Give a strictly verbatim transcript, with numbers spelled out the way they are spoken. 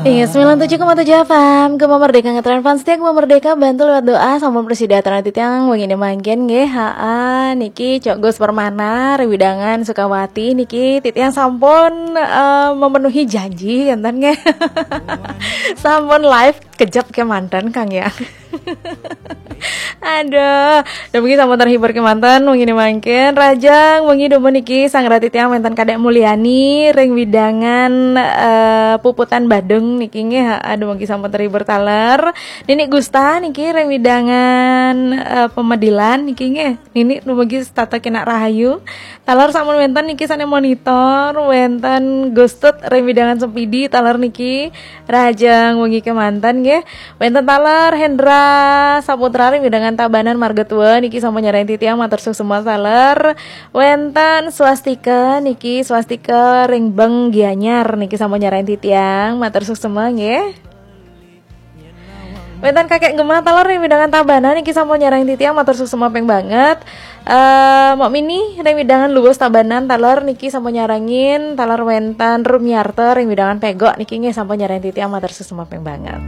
Iya, sembilan tujuh koma tujuh F M, Gema Merdeka ngetren fans setia Gema Merdeka, bantu lewat doa, sampun prasida titiang wengi mangkin nggih. Haa, niki Cok Gus Permana, ring wewidangan Sukawati niki titiang sampun eh, memenuhi janji, enten nggih. Sampun live kejap kemanten, Kang, ya. Aduh, dumun niki sampun terhibur kemanten wengi mangkin. Rahajeng wengi dumun niki sareng titiang wenten Kadek Mulyani ring wewidangan eh, Puputan Badung niki nggih. Haa, dumun niki sampun terhibur taler. Nini Gusta niki ring wewidangan eh, Pemedilan niki nggih. Nini dumun niki setata kenak rahayu. Taler sampun wenten niki sane monitor, wenten Gustut ring wewidangan Sempidi taler niki. Rahajeng wengi kemanten nggih. Wenten taler Hendra Saputra ring wewidangan Tabanan Marga Tua niki sampun nyarengin titiang, matur suksma taler. Wenten Swastika niki, Swastika ring Beng Gianyar niki sampun nyarengin titiang, matur suksma nggih. Wenten Kakek Gema taler ring wewidangan Tabanan niki sampun nyarengin titiang, matur suksma ping banget. Eh, Mok Mini ring wewidangan Luwus Tabanan taler niki sampun nyarengin, taler wenten Rumiarta ring wewidangan Pegok niki nggih sampun nyarengin titiang, matur suksma ping banget.